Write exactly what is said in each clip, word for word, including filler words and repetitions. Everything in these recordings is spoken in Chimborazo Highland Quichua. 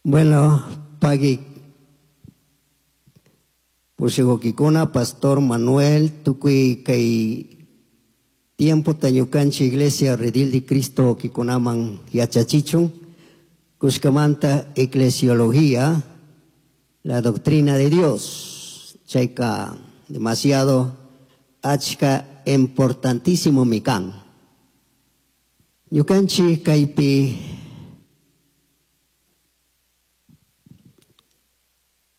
Bueno, pagui pushukukikuna Pastor Manuel tukuy kay tiempo ñukanchik Iglesia Redil de Cristo kikunaman yachachichun kushkamanta eclesiología, la doctrina de Dios, chayka demasiado achka importantísimo mikan. Ñukanchik kaypi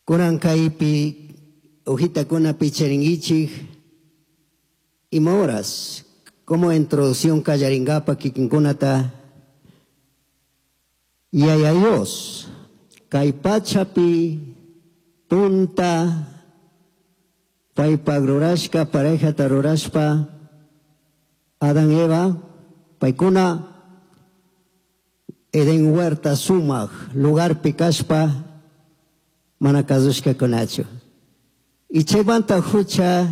kunan kaypi hojitakuna picharinkichik ima horas como introducción kallaringapa kikinkunata Yaya Dios kay pachapi punta paypak rurashka parejata rurashpa Adán Eva paykuna Edén huerta sumak lugarpi kashpa mana kasushkakunachu. Y chaymanta hucha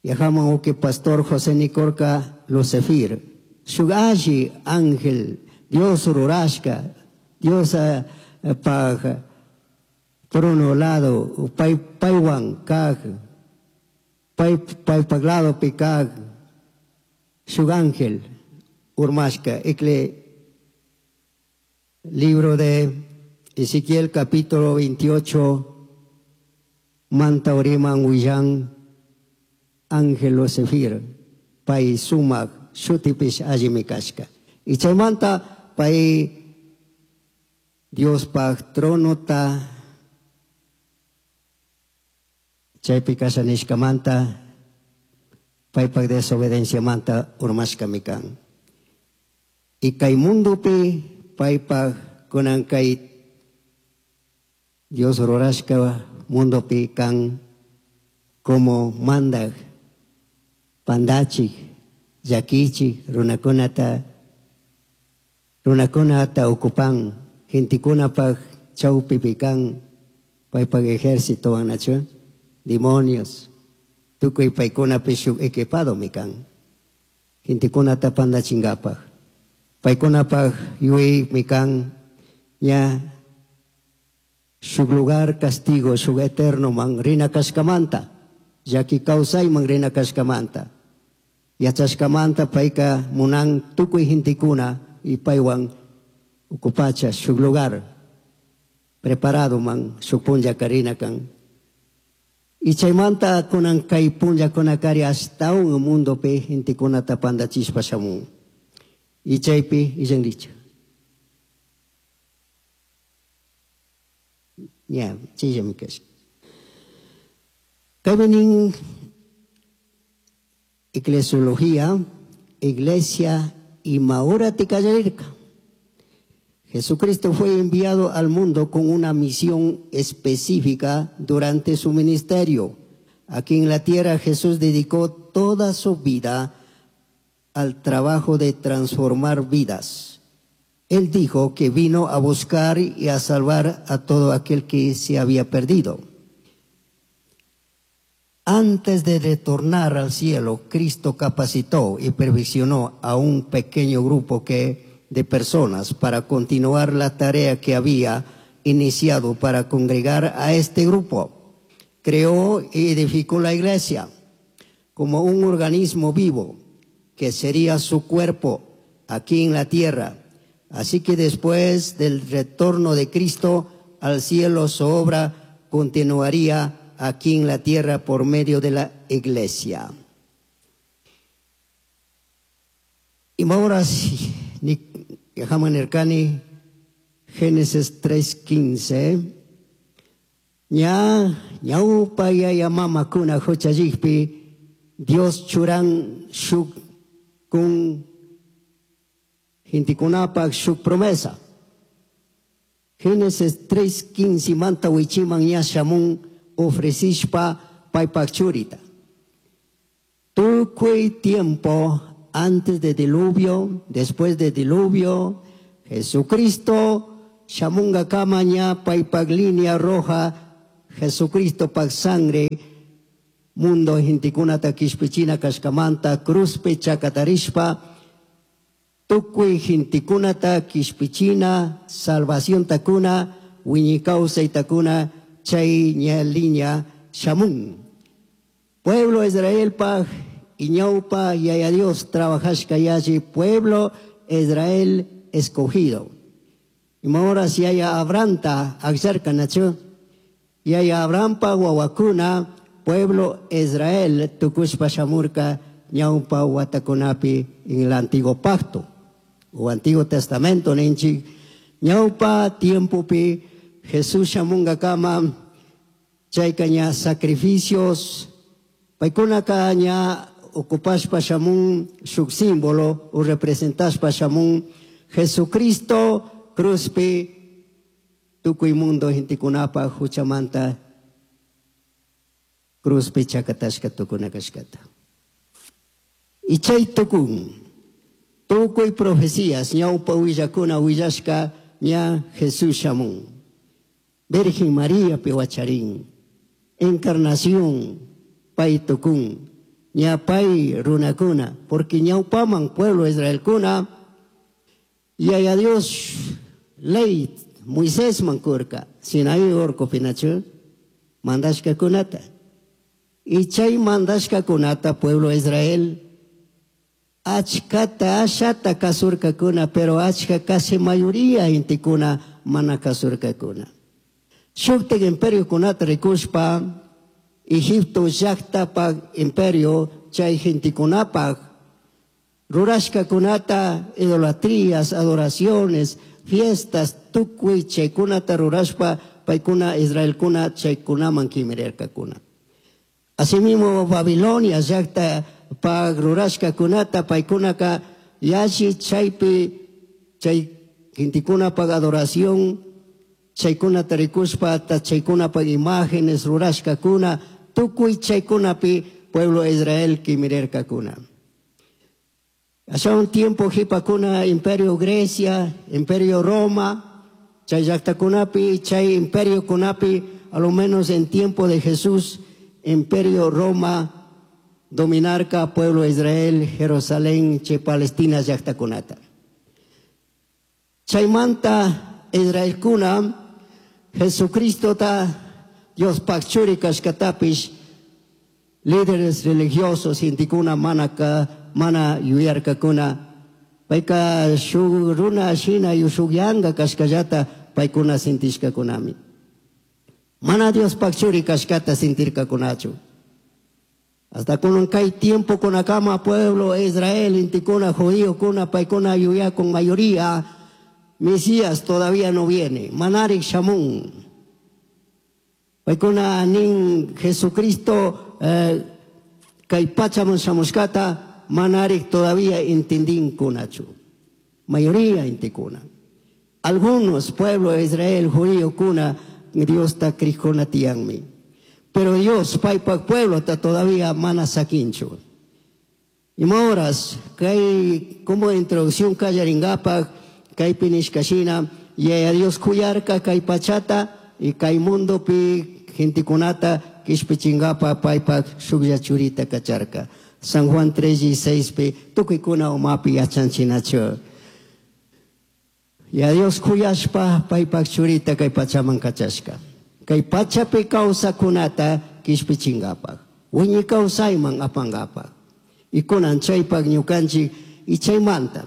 yajaman uki pastor José Nicorca Lucefir shuk alli ángel Dios rurashka Dios paj trono lado pay paywan kaj pay paypak ladopi kaj shuk ángel urmashka. Ecle libro de Ezequiel capítulo veintiocho manta uriman willan ángel Lucefir pay sumak shutipish allimi kashka. Y chaymanta pay Diospaj tronota chaypi kasha nishkamanta paypak desobedienciamanta urmashkami kan. Y kay mundopi paypak kunan kay Dios rurashka mundopi kan como mandak pandachik llakichik runakunata runakunata ocupan gentekunapak chawpipi kan paypak ejército nachu demonios tukuy paykunapi shuk equipadomi kan gentekunata pandachinkapak paykunapak yuyaymi kan ña shuk lugar castigo shuk eterno man rina kashkamanta llaki kawsayman rina kashkamanta yachashkamanta payka munan tukuy gentekuna y paywan ucupacha shuk lugar preparado man shuk punlla karina kan. Y chaymanta kunan kay punllakunakari ashtawan mundopi gentekunata pandachishpa shamun. Y chaypi illanricha. Ya, chayllami kasha. Kaypi eclesiología, iglesia ima hora tikallarirka. Jesucristo fue enviado al mundo con una misión específica durante su ministerio. Aquí en la tierra Jesús dedicó toda su vida al trabajo de transformar vidas. Él dijo que vino a buscar y a salvar a todo aquel que se había perdido. Antes de retornar al cielo, Cristo capacitó y perfeccionó a un pequeño grupo que, de personas para continuar la tarea que había iniciado para congregar a este grupo. Creó y edificó la iglesia como un organismo vivo que sería su cuerpo aquí en la tierra. Así que después del retorno de Cristo al cielo, su obra continuaría aquí en la tierra por medio de la iglesia. Y ahora sí, Génesis tres quince. Ña, ñaupa yaya mama kuna huchallikpi, Dios churan shuk kun gentekunapak shuk promesa. Génesis tres quince manta wichiman ña shamun ofrecishpa paypak churita. Tukuy tiempo antes del diluvio, después del diluvio, Jesucristo shamunga kama ña paypak línea roja, Jesucristo pak sangre, mundo gentekunata kishpichina kashkamanta, cruzpi chakatarishpa, Tukuy gentekunata kishpichina, salvación takuna, wiñay kawsaytakuna, chay ña liña shamun. Pueblo Israelpaj y ñaupa yaya Dios trabajashka yalli pueblo Israel escogido. Y ahora si yaya Abrahamta akllarka nachu, yaya Abrahampa wawakuna pueblo Israel tukushpa shamurka ñaupa watakunapi en el antiguo pacto o Antiguo Testamento ninchik ñaupa tiempopi Jesús shamunkakama chayka ña sacrificios paykunaka ña ocupashpa shamun shuk símbolo o representashpa shamun Jesucristo cruzpi tukuy mundo gentekunapa huchamanta cruzpi chakatashka tukuna kashkata. Y chay tukun tukuy profecías ñaupa willakuna willashka ña Jesús shamun. Virgen María piwacharin, encarnación pay tukun, ña pay runakuna, porque ñaupaman pueblo Israelkuna, yaya Dios ley Moisés mankurka, Sinaí orqopi nachu, mandashka kunata. Y chay mandashka kunata pueblo Israel, achkata ashata kasurkakuna, pero achka casi mayoría gentekuna mana kasurkakuna. Shuktik imperio kunata rikushpa, Egipto llaqtapaq imperio chay gentekunapaq rurashka kunata idolatrías, adoraciones, fiestas, tukuy chaykunata rurashpa paykuna Israelkuna chaykunaman kimirirkakuna. Asimismo Babilonia llaqtapaq rurashka kunata paykunaka yalli chaypi chay gentekunapaq adoración chaykunata rikushpa chaykunapaq imágenes rurashkakuna tukuy chaykunapi pueblo Israel kimirirkakuna. Hace un tiempo jipakuna imperio Grecia, imperio Roma, chay llaqtakunapi, chay imperio kunapi, a lo menos en tiempo de Jesús, imperio Roma dominarka pueblo Israel, Jerusalén, chay Palestina llaqtakunata. Chaymanta Israelkuna, Jesucristo ta Diospaj churi kashkatapish, líderes religiosos gentekuna manaka mana yuyarkakuna payka shuk runa shina shuk yanga kashkallata paykuna sintishkakunami. Mana Diospaj churi kashkata sintirkakunachu. Hasta kunan kay tiempo kunakama pueblo Israel gentekuna judío kuna paykuna yuyakun mayoría Mesías todavía no viene. Manarik shamun. Paykuna nin Jesucristo eh, kay pachaman shamushkata manarik todavía entendinkunachu. Mayoría gentekuna. Algunos pueblos de Israel, judío kuna, Dios ta krijkuna tiyanmi. Pero Dios, paypak pueblo ta todavía mana sakinchu. Y horas, kay como introducción kallaringapak, kaypi nishkashina, yaya Dios kuyarka kay pachata y kay mundopi gentekunata kishpichingapa paypak shuklla churita kacharka. San Juan tres y seis pi tukuykuna umapi yachanchinachu. Ya Dios kuyashpa paypak churita kay pachaman kachashka. Kay pachapi kawsakunata kishpichingapak. Wiñay kawsayman apangapak. Y kunan chaypak ñukanchik y chaymanta.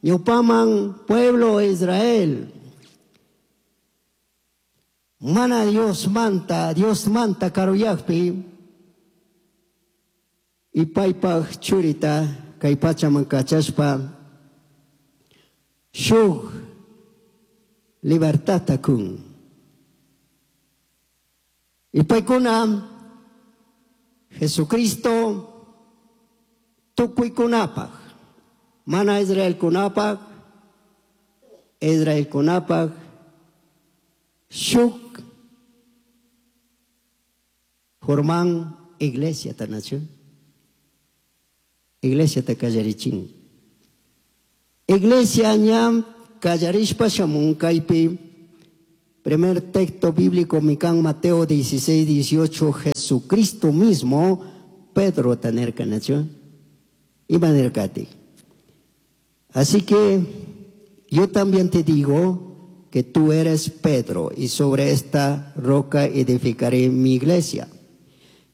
Ñupaman pueblo Israel. Mana Dios manta, Dios manta karuyakpi. Y paypak churita kay pachaman kachashpa shuk libertadta kun. Y paykuna Jesucristo tukuykunapaq, mana Israelkunapaq, Israelkunapaq shuk forman iglesia tanachu. Iglesia ta kallarichin. Iglesia ñam kallarishpa shamun kaypi. Primer texto bíblico mikan Mateo dieciséis, dieciocho, Jesucristo mismo, Pedro tanerka nachu. Ima nirkati. Así que yo también te digo que tú eres Pedro, y sobre esta roca edificaré mi iglesia.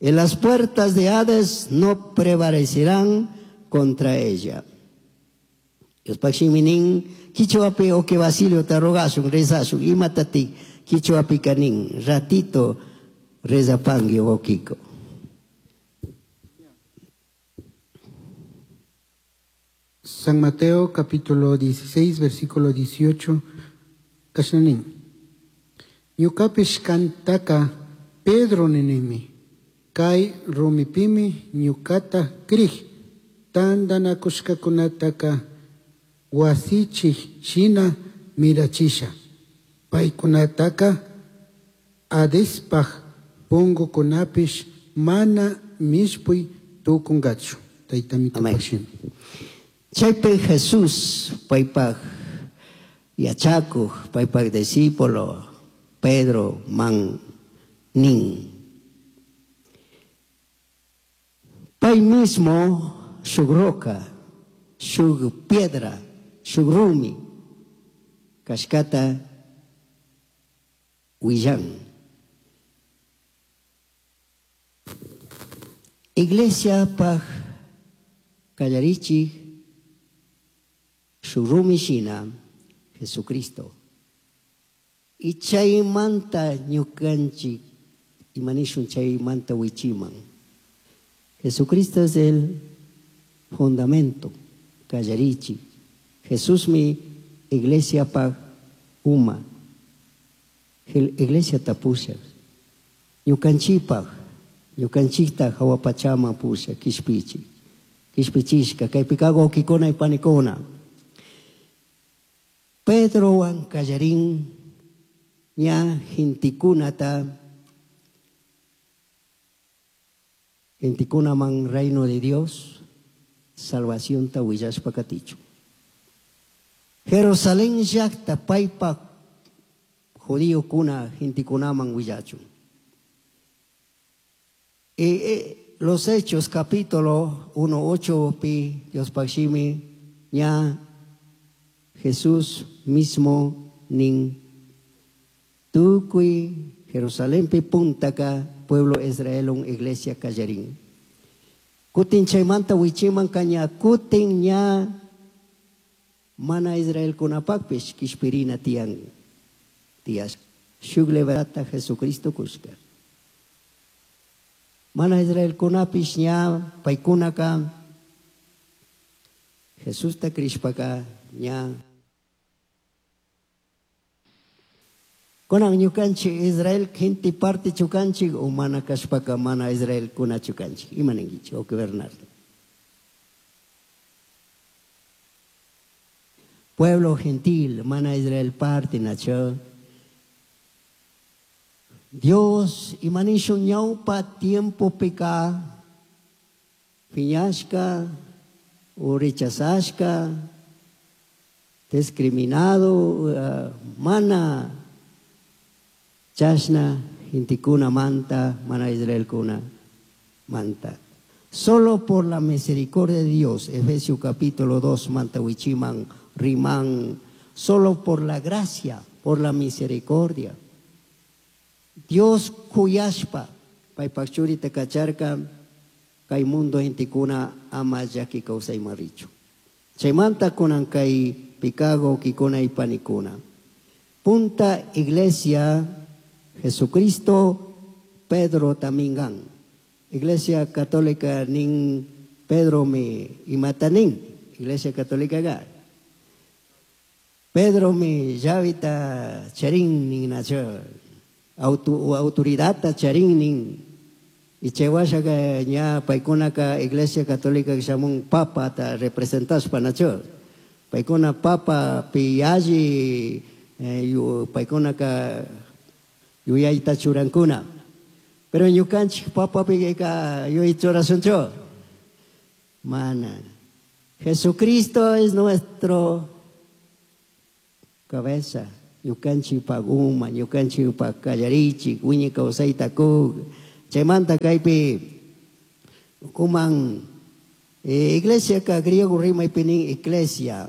Y las puertas de Hades no prevalecerán contra ella. Diospaj quichuapi o que Basilio te rogasun, rezasun, imatati quichuapi kanin, ratito rezapangui o kiko. San Mateo capítulo dieciséis, versículo dieciocho, kashnanin. Ñukapish kantaka Pedro ninimi, kay rumipimi ñukata krij, tandanakushkakunataka wasichij shina mirachisha. Paykunataka Hadespaj pungukunapish mana mishpuy tukungachu. Tayta Amén. Chaypi Jesús paypaj yachakuj, paypaj discípulo Pedro man nin. Pay mismo shuk roca, shuk piedra, shuk rumi kashkata willan. Iglesia paj kallarichij shuk rumi shina Jesucristo. Y chaymanta ñukanchik imanishun chaymanta wichiman. Jesucristo es el fundamento, kallarichi. Jesús mi iglesia paj uma. Iglesia tapusha. Ñukanchipaj, ñukanchikta hawapachama pusha, kishpichi. Kishpichishka, kaypikago kikuna y panikuna. Pedro wan kallarin ña gintikunata, gintikuna man reino de Dios, salvación ta willashpa katichu. Jerusalén llaqta paypa judío kuna gintikunaman willachu. Y, eh, los Hechos capítulo uno ocho pi Dios pashimi ña Jesús mismo nin tukuy Jerusalén pi puntaka pueblo Israel un iglesia kallarin. Kutin chaymanta wichiman kaña kutin ña mana Israel kunapakpish kishpirina tiyan tias. Shuk leverata Jesucristo kushka. Mana Israel kunapish ña paykunaka Jesusta krishpaka ña. Kunan ñukanchik Israel gente parte chukanchik o mana kashpaka mana Israel kuna chukanchik. Ima ninkichik, o que Bernardo. Pueblo gentil, mana Israel parte nacho. Dios imanishun ñawpa tiempo pika piñashka o rechazashka discriminado, uh, mana chashna intikuna manta, mana Israel kuna manta. Solo por la misericordia de Dios, Efesios capítulo dos, manta wichiman, rimán, solo por la gracia, por la misericordia. Dios kuyashpa, paypakchuri takacharka, kay mundo intikuna ama llaki kawsay marichu. Chaymanta kunan kay pikago kikuna y panikuna. Punta iglesia Jesucristo Pedro tamingan. Iglesia Católica nin Pedro mi imatanin. Iglesia Católica ga. Pedro mi llavita charin nin nacho. Auto, autoridad charin nin. Y chewasha ka ña paikuna ka Iglesia Católica que llaman papa ta representas panacho. Paikuna papa pialli eh, yu, paikuna ka yuyayta churankuna. Pero ñukanchik papa pi ka yuyay Mana. Jesucristo es nuestro cabeza. Ñukanchik paguma, ñukanchik pa kallarichik, wiñi kawsayta kuk. Chaymanta kaypi kuman eh, iglesia ka griego rimaypi nin iglesia.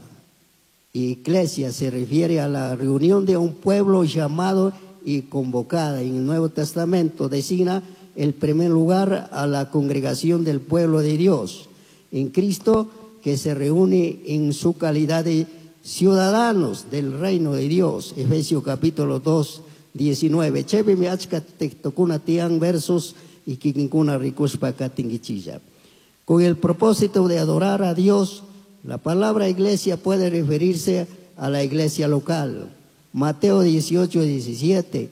Iglesia se refiere a la reunión de un pueblo llamado y convocada. En el Nuevo Testamento designa el primer lugar a la congregación del pueblo de Dios en Cristo, que se reúne en su calidad de ciudadanos del reino de Dios. Efesios capítulo dos, diecinueve. Chaypimi achka textokuna tiyan versos y kikinkuna rikushpa katinkichilla. Con el propósito de adorar a Dios, la palabra iglesia puede referirse a la iglesia local. Mateo dieciocho, diecisiete,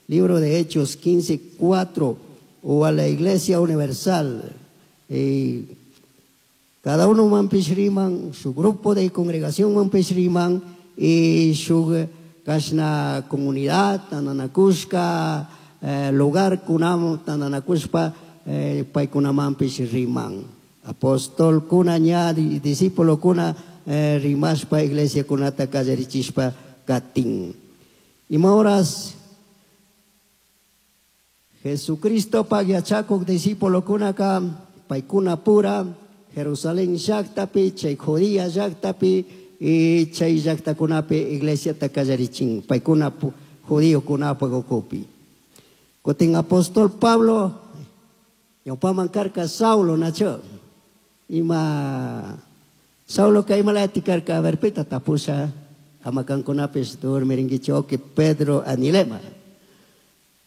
libro de Hechos quince, cuatro, o a la iglesia universal. Eh, cada uno mampishriman, su grupo de congregación mampishriman, y su kashna comunidad, tananakushka, eh, lugar kunam, tananakushpa, eh, paykunamampishriman. Apóstol kuna ña, discípulo kuna, eh, rimashpa, iglesia kunata kallarichishpa katin. Ima horas Jesucristo pagyachakuk discípulo kunaka, paykuna pura, Jerusalén llaktapi, chay Judía llaktapi, y chay llaktakunapi iglesia takallarichin, paykuna judío kunapa gokupi. Kutin apóstol Pablo, ñawpaman karka Saulo nacho. Ima Saulo kaymalati karka, a ver, pita tapusha, amakankunapis durmirinkichu, que Pedro anilema.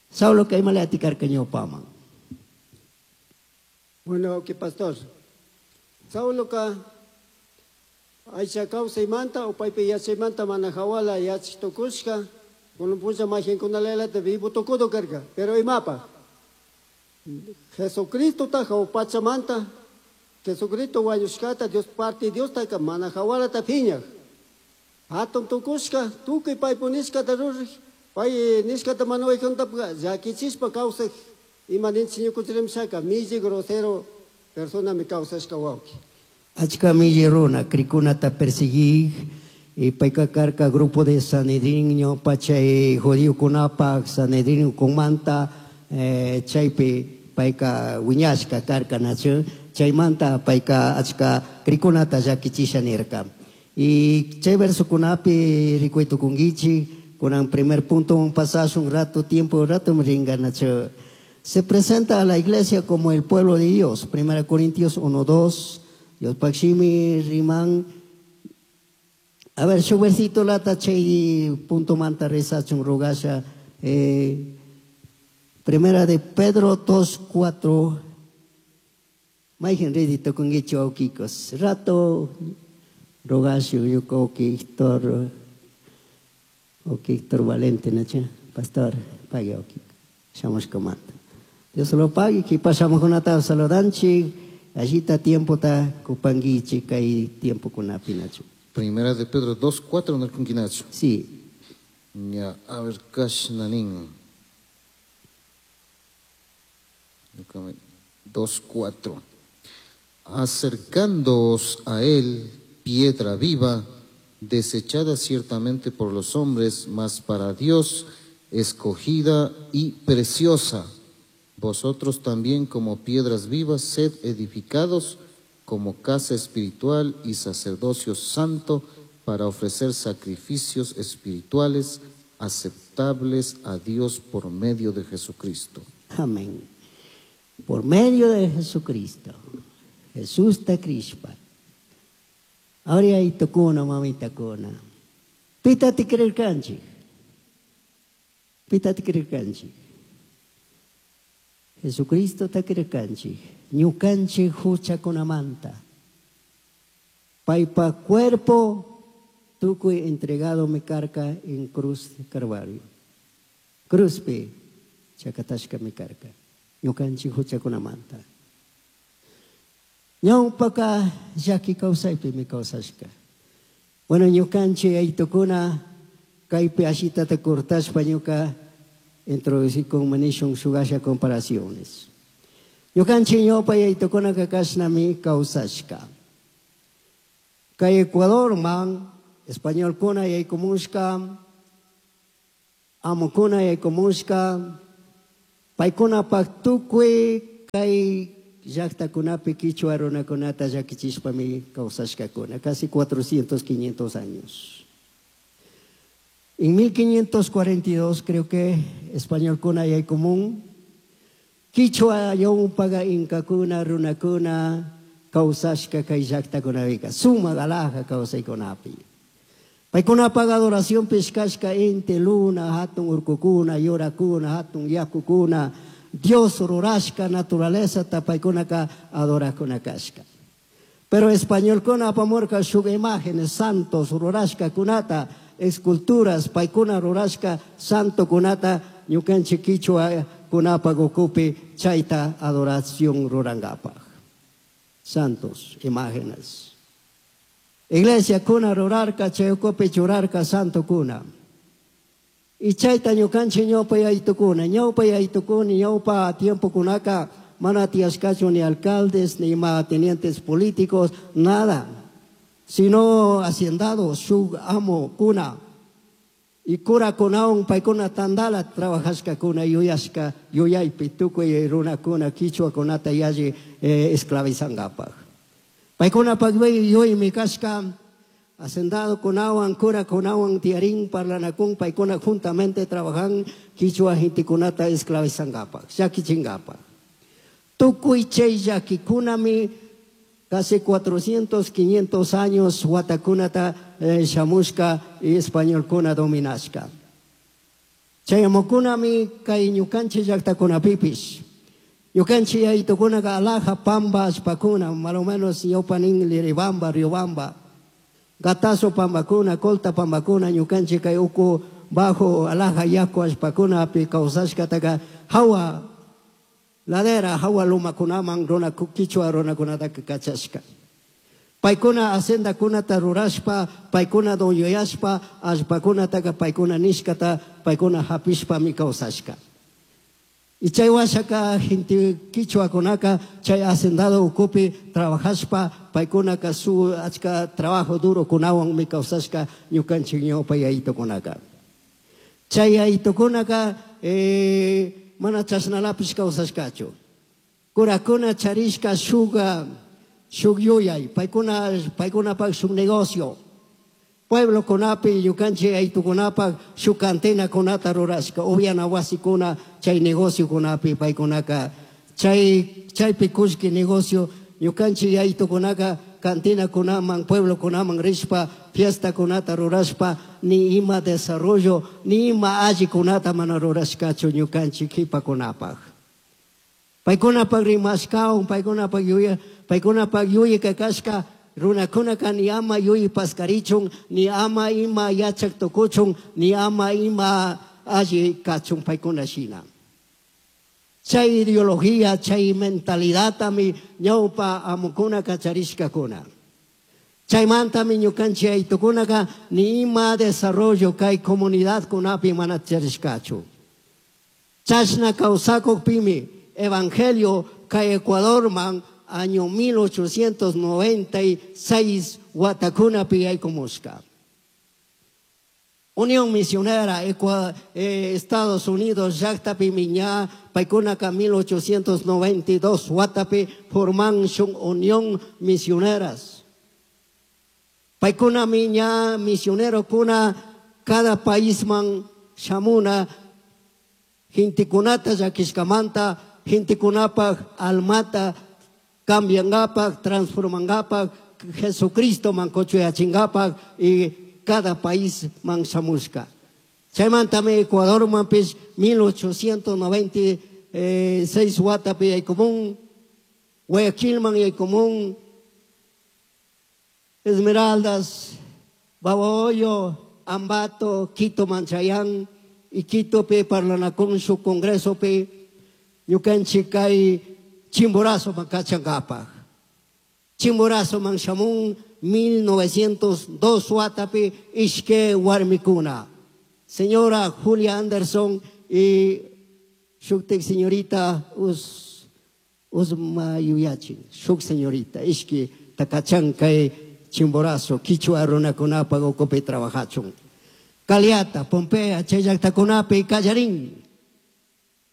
Saulo kaymalati karka ñawpaman. Bueno, que pastor. Saulo ka aycha kawsaymanta o paypi yachaymanta mana hawala yachitukushka, kunan puncha mahinkunalalata vivo tukudo karka, pero imapa. Jesucristo taja o pachamanta, Jesucristo wañushkata, Dios parte Dios taka mana hawalata phiñaj. Hatun tukushka, tukuy paypunishkata ruraj, pay nishkata mana waykuntapka, llakichispa kawsaj, ima ninchik ñukunchikrimshaka, milli grosero persona mi kawsashka wawqi. Achka milli runa, krikunata perseguir, y payka karka grupo de Sanedrín, ñawpa chay judiokunapaj, Sanedrín kumanta, eh, chaypi payka wiñashka karka nachu, chaymanta payka achka krikunata llakichisha nirka. Y chay versokunapi rikuytukunkichik, kunan primer punto un pasaje, un rato, tiempo, un rato ringa nachu. Se presenta a la iglesia como el pueblo de Dios. Primera Corintios uno, dos, Dios pakshimi riman. A ver, su versito lata chay punto manta rezachun rogasha. Eh, primera de Pedro dos, cuatro. Maigen redito con hecho aukikos. Rato rogashu yuko Héctor, Héctor Valente, nacha, pastor, pague okiko. Shamos comando. Dios lo pague, que pasamos con ata saludanchi, allí está tiempo ta kupanguichi, kai tiempo con apinacho. Primera de Pedro dos, cuatro, no con quinacho. Sí. Ya, a ver, kashnanin. dos, cuatro. Acercándoos a él, piedra viva, desechada ciertamente por los hombres, mas para Dios escogida y preciosa. Vosotros también como piedras vivas, sed edificados como casa espiritual y sacerdocio santo para ofrecer sacrificios espirituales aceptables a Dios por medio de Jesucristo. Amén. Por medio de Jesucristo. Jesús te crispa. Ahora hay tocuna, mamita cona. Pita te creer canchi. Pita te creer canchi. Jesucristo te creer canchi. Ñucanchi hucha con amanta. Paipa cuerpo tucuy entregado mi carca en cruz de Calvario. Cruzpe chacatashka mi carca. Ñucanchi hucha con amanta. Ñaupaka yaki kawsaypi mi kawsashka. Bueno, ñukanchi aytukuna kaypi ashitata cortashpa ñuka introducí con manishun shugasha comparaciones. Ñukanchi ñawpa aytukuna kakashnami kawsashka. Kay Ecuador man, español kuna yaykumushka, amukuna yaykumushka, paykuna pak tukuy kay llaqtakunapi kichwa runakunata llakichishpami kawsashkakuna, casi cuatrocientos, quinientos años. En mil quinientos cuarenta y dos creo que españolkuna yaykumun, kichwa ñawpaga inkakuna runakuna kawsashka kay llaqtakunapika, sumak alhaja kawsaykunapi. Paykunapak adoración pishkashka inti, luna, hatun urkukuna, yurakuna, hatun yakukuna, Dios rurashka naturaleza paykunaka adorakuna kashka. Pero españolkuna apamurka shuk imágenes santos rurashka kunata, esculturas paykuna rurashka santo kunata ñukanchik kichwa kunapak ukupi chayta adoración rurangapak. Santos, imágenes. Iglesia kuna rurarka, chay ukupi churarka santo kuna. Y chayta ñukanchik ñawpa yaytukuna, ñawpa yaytukuna, ñawpa tiempo kunaka mana tiyashkachu ni alcaldes, ni ma tenientes políticos, nada, sino hacendados, shuk amo kuna. Y cura kunaun paykuna tandala trabajashka kuna yuyashka yuyaypi tukuy runakuna kichwa kunata yalli, eh, esclavizangapak. Paykuna pakbay yuymi kashka hacendado kunawan cura kunawan tiarín parlanakun paykuna juntamente trabajan kichwa hintikunata esclavizangapak, llakichingapak. Tukuy chay llakikunami casi cuatrocientos, quinientos años watakunata, eh, shamushka y españolkuna dominashka. Chayamukunami kay ñukanchik llaqtakunapipish. Ñukanchik yaytukunaka alhaja pamba allpakuna, más o menos ñawpanin Liribamba, Riobamba, Gatazo pambakuna, Colta pambakuna, ñukanchik kay uku bajo alhaja yaku allpakunapi kawsashkataka hawa ladera hawa lumakunaman runa kichwa runakunataka kachashka. Paykuna haciendakunata rurashpa, paykuna dueñoyashpa, allpakunataka paykuna nishkata, paykuna hapishpami kawsashka. Y chay washaka gente kichwakunaka chay hacendado ukupi trabajashpa, paykunaka su achka trabajo duro kunawanmi kawsashka ñukanchik ñawpa yayitukunaka. Chay yayitukunaka, eh, mana chashnalapish kawsashkachu. Kurakuna charishka shuga, shuk yuyay, paykuna, paykunapak shuk negocio. Pueblo kunapi, ñukanchik yaytukunapak shuk cantina kunata rurashka, upiana wasikuna chay negocio kunapi paykunaka, chay, chaypi kullki negocio, ñukanchik yaytukunaka cantina kunaman, pueblo kunaman rishpa, fiesta kunata rurashpa, ni ima desarrollo, ni ima alli kunata mana rurashkachu ñukanchik kipakunapak. Paykunapak rimashkaun, paykunapak yuya, paykunapak yuyaka kashka, runakunaka ni ama yuyi paskarichun, ni ama ima yachak tukuchun, ni ama ima alli kachun paykuna shina. Chay ideología, chay mentalidadtami ñawpa amukunaka charishkakuna. Chaymantami ñukanchik aytukunaka ni ima desarrollo kay comunidad kunapi mana charishkachu. Chashna kawsakukpimi evangelio kay Ecuadorman año mil ochocientos noventa y seis watakunapi yaykumushka. Unión Misionera, Ecua-, eh, Estados Unidos, llaqtapi miña, paykunaka mil ochocientos noventa y dos watapi forman shun Unión Misioneras. Paykuna miña misionero kuna cada país man shamuna hintikunata llakishkamanta, hintikunapaj almata cambiangapak, transformangapak, Jesucristo man kochuyachingapak y cada país man shamushka. Chaymantami Ecuador manpish mil ochocientos noventa y seis watapi yaykumun, Guayaquil man yaykumun, Esmeraldas, Babahoyo, Ambato, Quito manchayan, y Quito pe parlanakun su congreso pe ñukanchik kay Chimborazo mankachankapak. Chimborazo manshamun mil novecientos dos watapi ishke warmikuna. Señora Julia Anderson y shuktik señorita Us, Usma Yuyachin, shuk señorita, ishke takachan kay Chimborazo, kichwa runakunapa ukupi trabajachun. Caliata, Pompea, Chayllaqtakunapi, Callarín.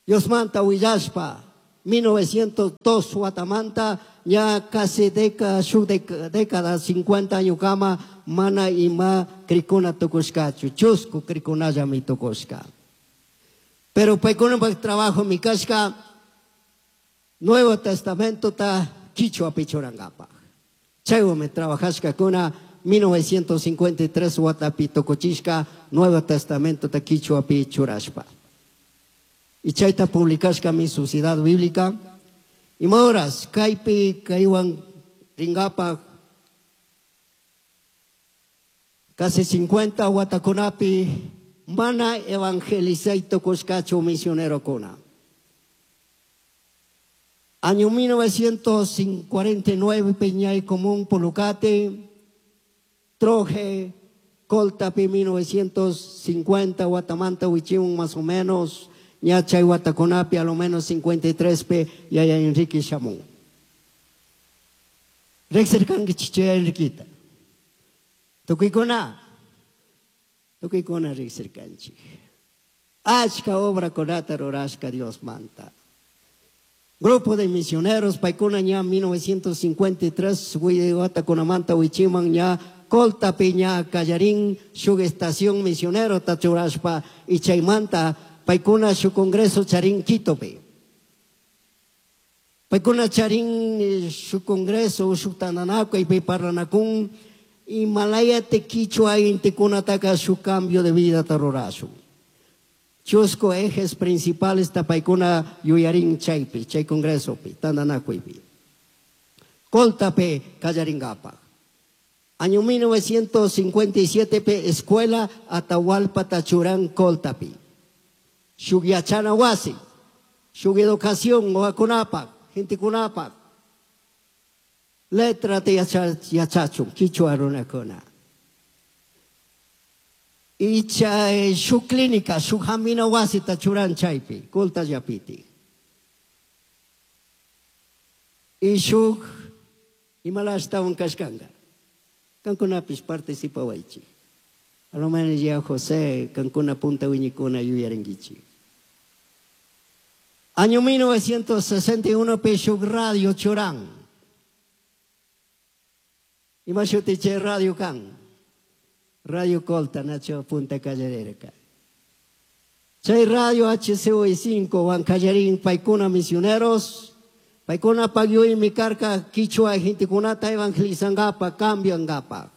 Diosmanta willashpa, mil novecientos dos watamanta ña casi década, shuk década, cincuenta años kama mana ima krikuna tukushkachu, chusku krikunallami tukushka. Pero paykunapak trabajo mi kashka Nuevo Testamento ta kichwa pichurangapaj. Chaywanmi trabajashkakuna mil novecientos cincuenta y tres watapi tukuchishka Nuevo Testamento ta kichwa pichurashpa. Y chayta publicashka mi Sociedad Bíblica. Y moras, kaypi kaywan ringapaj casi cincuenta watakunapi mana evangelizay tukushkachu misionerokuna. Año mil novecientos cuarenta y nueve, Peñay Común, Pulucate, Troje, Coltapi, mil novecientos cincuenta, Guatamanta, Huichimún, más o menos, Ñachay, Guataconapi, a lo menos cincuenta y tres pe, Yaya Enrique Chamún. Rexerkangi chichaya Enriquita. Tukuykuna, tukuykuna rexerkanchi. Achka obra konata rurashka Dios manta. Grupo de misioneros, paikuna ña mil novecientos cincuenta y tres, Guataconamanta, Huichiman ña, Colta Peña, Callarín, shuk estación misionero, Tachurashpa, y Chaymanta, paikuna su congreso Charín Quitope. Paikuna Charín, su congreso, su tananaco, y Parranacún, y Malaya Tequichua, Inticunataca, su cambio de vida tarrorazo. Chusco ejes principales tapaikuna yuyarin chaypi, chay congreso pi, tandanakuipi. Coltape, Callaringapa. Año mil novecientos cincuenta y siete pe, escuela Atahualpa Tachurán Coltapi. Shugyachana wasi, shug educación, oakunapa, gente kunapa. Letra te yachachun, quichua runakuna. Y chay, su clínica, su jamina wasi tachuran chaypi, culta yapiti. Y su imalasta un kashkanga. Kankunapis participa waichi. A lo menos ya José, kankuna punta wiñikuna yuyarenguichi. Año mil novecientos sesenta y uno, Peshuk Radio Churán. Y Machutiche Radio Can. Radio Colta, Nacho Punta Callererca. Chay Radio H C O cinco, Huancallarín, Paicuna Misioneros, Paicuna Pagyuy, Micarca, Quichua, Jinticunata, Evangelizangapa, Cambio Angapa.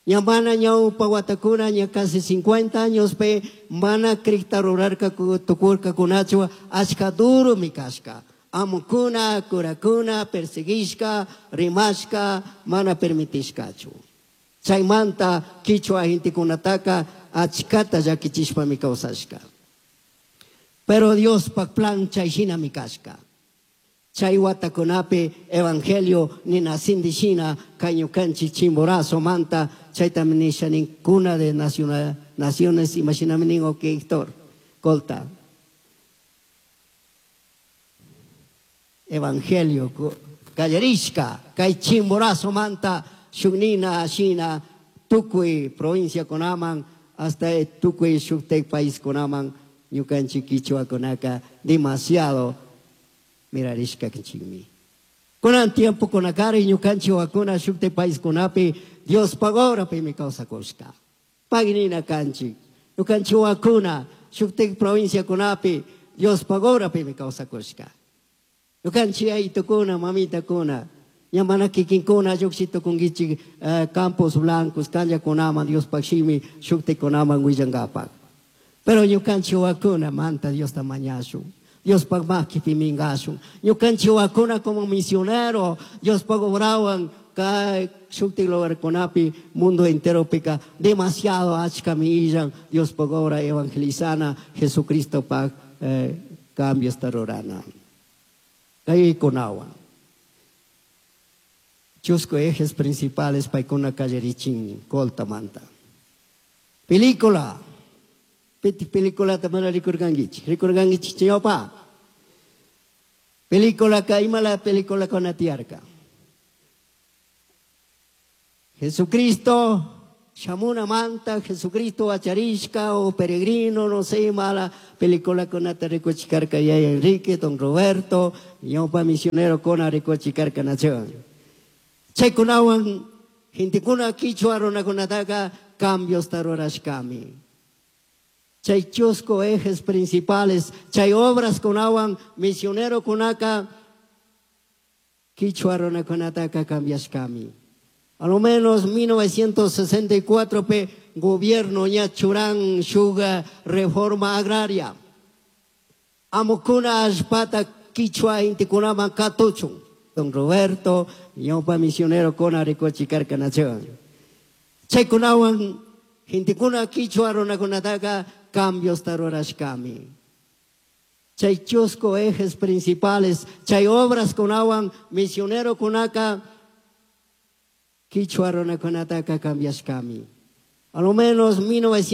Ñamana ñaupa Guatacuna, ña casi cincuenta años pe, mana cricta rurarca tucurca kunachua, achka duro mi casca. Amukuna, curacuna, perseguishka, rimashka, mana permitishkachu. Chaymanta, quichua, jintikunataka, achkata llakichishpa mi kawsashka. Pero Dios pak plan chayshina mi kashka. Chay watakunapi evangelio nina sindishina kayñukanchi chimborazo manta chayta nisha ninkuna de naciona, naciones imaginami nin ok Héctor Colta. Evangelio kallarishka kay chimborazo manta shugnina shina tukuy provincia kunaman hasta tukuy shuktek país kunaman ñukanchi kichwa kunaka demasiado mirarishka kinchimi. Kunan tiempo kunakari ñukanchi wakuna shukte país kunapi Dios pagora pi mi causa kushka. Pagnina kanchi. Ñukanchi wakuna shukte provincia kunapi Dios pagora pi mi causa kushka. Ñukanchi aitukuna mamita kuna ñamana kikinkuna lluqshito kunkichik, eh, Campos Blancos kanya kunaman Dios pakshimi shukte kunaman willankapak. Pero ñukanchi wakuna manta Dios tamañashu. Dios pag makipi mingashun. Ñukanchi wakuna como misionero, Dios pag obrawan kay shukti lugar kunapi mundo entero pica demasiado achka millan Dios pag obra evangelizana Jesucristo pag, eh, cambio esta rorana. Kay kunawa. Chusco ejes principales paikuna kallerichin colta manta. Película. Piti película tamara rikurgangichi. Rikurgangichi chiopa. Película kaima la película con atiarca. Jesucristo, Shamunamanta Jesucristo huacharishca o peregrino, no sé, mala peliculacunata ricuchicarca yaya Enrique, don Roberto, ñawpa misionerocuna ricuchicarca nación. Chaykunawan gentecuna quichua runakunataca cambios rurashkami. Chay chusku ejes principales, chay obras kunawan misionerokunaka quichua runakunataka cambiashkami. A lo menos mil novecientos sesenta y cuatro pe gobierno ña churan shuga reforma agraria. Amukuna allpata quichua intikunaman katuchun. Don Roberto, ñawpa misionerocuna ricuchicarca nación. Chaykunawan gentecuna quichua runakunataka cambios rurashkami. Chay chusku ejes principales, chay obras kunawan misionerokunaka quichua runakunataka cambiashkami. A lo menos mil novecientos